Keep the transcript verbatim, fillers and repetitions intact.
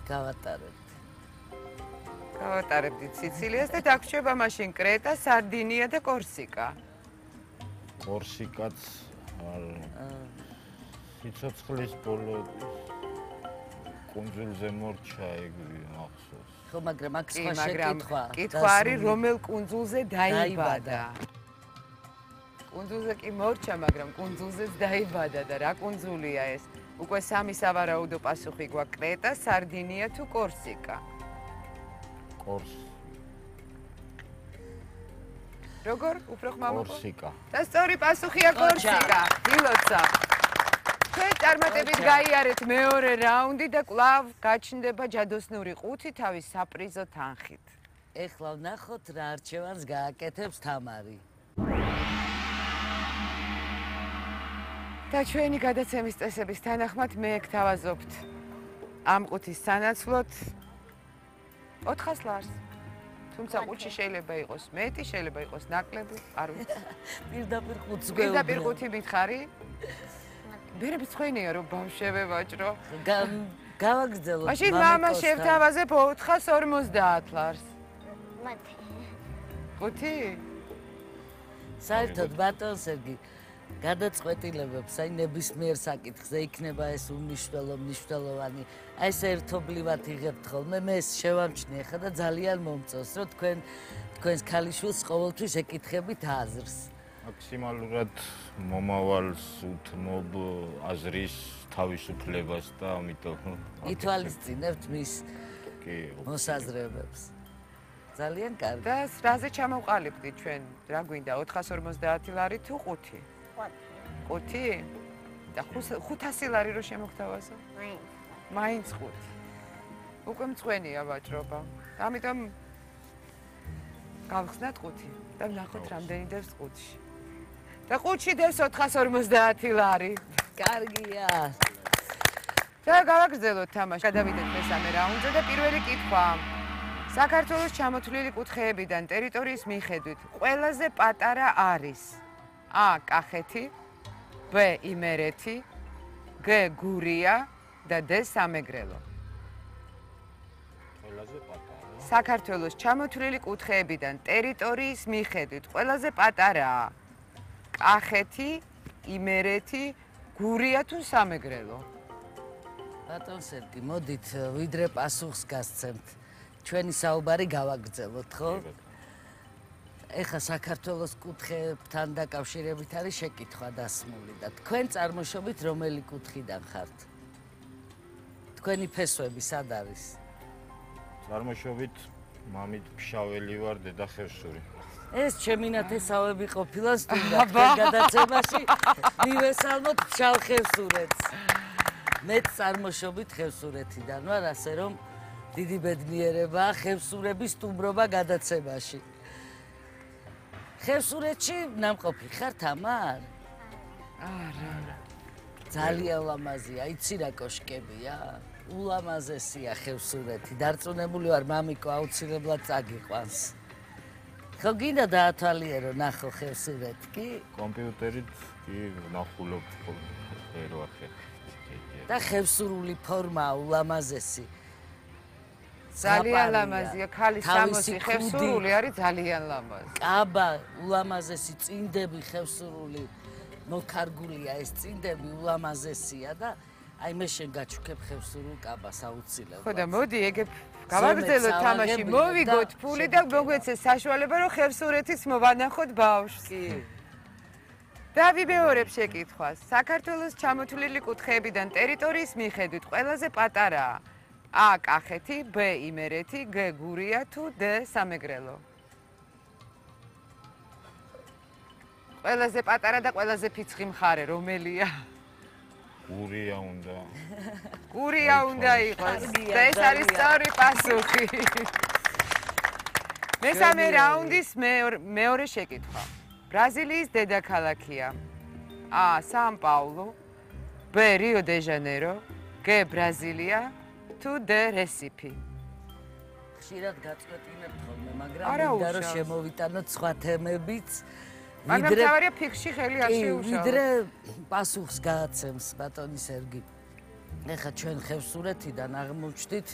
გავატარებთ. გავატარებდით სიცილიას და დაგვრჩება მაშინ კრეტა, სარდინია და კორსიკა. კორსიკაც არ სიცოცხლის ბოლო კუნძულზე მორჩა ეგვი მახსოვს. ხო, მაგრამ აქ სხვა შეკითხვა. კითხვა არის რომელ კუნძულზე დაიბადა. კუნძულზე კი მორჩა, მაგრამ კუნძულზეც დაიბადა და რა კუნძულია ეს? უკვე სამი სავარაუდო პასუხი გვაქვს: კრეტა, სარდინია თუ კორსიკა. კორს. როგორ? უფრო ხმამო? კორსიკა. და სწორი პასუხია კორსიკა. დილოცა. თქვენ წარმატებით გაიარეთ მეორე რაუნდი და კვლავ გაჩნდება ჯადოსნური ყუთი თავის საპრიზო თანხით. ეხლა ვნახოთ რა არჩევანს გააკეთებს თამარი. და ჩვენი გადაცემის წესების თანახმად მე გთავაზობთ ამ ყუთის სანაცვლოდ ოთხას ლარს. თუმცა ყუთში შეიძლება იყოს მეტი, შეიძლება იყოს ნაკლები, არ ვიცი. პირდაპირ ყუთს გვეუბნები. პირდაპირ ყუთი მითხარი? მერე მცხენია რომ ბავშვები ვაჭრო. გავაგრძელოთ. მაშინ მამა შევთავაზებ ოთხას ორმოცდაათ ლარს. მათი. ყუთი? საერთოდ ბატონ სერგი გადაწყვეტილებებს აი ნებისმიერ საკითხზე იქნება ეს უმნიშვნელო მნიშვნელოვანი აი ეს ერთობლივად იღებთ ხოლმე მე ეს შევამჩნიე ხა და ძალიან მომწონს რომ თქვენ თქვენს ქალიშვილს ყოველთვის ეკითხებით აზრს მაქსიმალურად მომავალს უთმობ აზრის თავისუფლებას და ამიტომ ითვალისწინებთ მის მოსაზრებებს ძალიან კარგი და რაზე ჩამოვყალიბდით ჩვენ რა გვინდა ოთხას ორმოცდაათი ლარი თუ ყუთი ყუთი და ხუთასი ლარი რო შემოგთავაზო მაინც მაინც ყუთი უკვე მწვენია ვაჭრობა ამიტომ გავხსნათ ყუთი და ვნახოთ რამდენი დევს ყუთში და ყუთში დევს ოთხას ორმოცდაათი ლარი კარგია და გავაგრძელოთ თამაში გადავიდეთ მესამე რაუნდზე და პირველი კითხვა საქართველოს ჩამოთვლილი კუთხეებიდან ტერიტორიის მიხედვით ყველაზე პატარა არის A. კახეთი B. იმერეთი G. გურია და D. სამეგრელო ყველაზე პატარა საქართველოს ჩამოთვლილი კუთხეებიდან ტერიტორიის მიხედვით ყველაზე პატარაა კახეთი იმერეთი გურია თუ სამეგრელო ბატონ სერგი მოდით ვიდრე პასუხს გასცემთ ჩვენი საუბარი გავაგრძელოთ, ხო? ეხა საქართველოს კუთხეებთან დაკავშირებით არის შეკითხვა დასმული და თქვენ წარმოშობით რომელი კუთხიდან ხართ? თქვენი ფესვები სად არის? წარმოშობით მამით ფშაველი ვარ, დედა ხევსური. ეს ჩემი ნათესავები ყოფილა სტუმრად თქვენ გადაცემაში მივესალმოთ ფშავ ხევსურეთს. მეც წარმოშობით ხევსურეთიდან ვარ, ასე რომ დიდი ბედნიერებაა ხევსურების სტუმრობა გადაცემაში. ხევსურეთში ნამყოფი ხარ თამარ? არა. ძალიან ლამაზია, იცი რა კოშკებია? ულამაზესია ხევსურეთი. დარწმუნებული ვარ მამიკო აუცილებლად წაგიყვანს. ხო გინდა დაათვალიერო ნახო ხევსურეთი კი? კომპიუტერით კი ვნახულობ ერვახე. და ხევსურული ფორმაა ულამაზესი. ძალიან ლამაზია, ქალის სამოსი ხევსურული არის ძალიან ლამაზი. კაბა ულამაზესი წინდები ხევსურული მოკარგულია ეს წინდები ულამაზესია და აი მე შენ გაჩუქებ ხევსურულ კაბას აუცილებლად. ხო და მოდი ეგებ გავაგრძელოთ თამაში, მოვიგოთ ფული და მოგვეცეს საშუალება რომ ხევსურეთის მოვანახოთ ბავშვს. კი. და ვიმეორებ შეკითხვას. საქართველოს ჩამოთვლილი კუთხეებიდან ტერიტორიის მიხედვით ყველაზე პატარაა A. კახეთი, B. იმერეთი, G. გურია თუ D. სამეგრელო. ყველაზე პატარა და ყველაზე ფიცხი მხარე რომელია? გურია უნდა. გურია უნდა იყოს. და ეს არის სწორი პასუხი. მესამე რაუნდის მეორე შეკითხვა. ბრაზილიის დედაქალაქია A. სან-პაულუ, B. რიო-დე-ჟანეირო, G. ბრაზილია თუ D. რესიფი. ხშირად გაწყვეტინებთ ხოლმე, მაგრამ მინდა რომ შემოვიტანოთ სხვა თემებიც. მაგრამ თავარია ფიქში ხელი არ შეუშალოთ. ვიდრე პასუხს გააცემს ბატონი სერგი. ეხლა ჩვენ ხევსურეთიდან აღმოჩნდით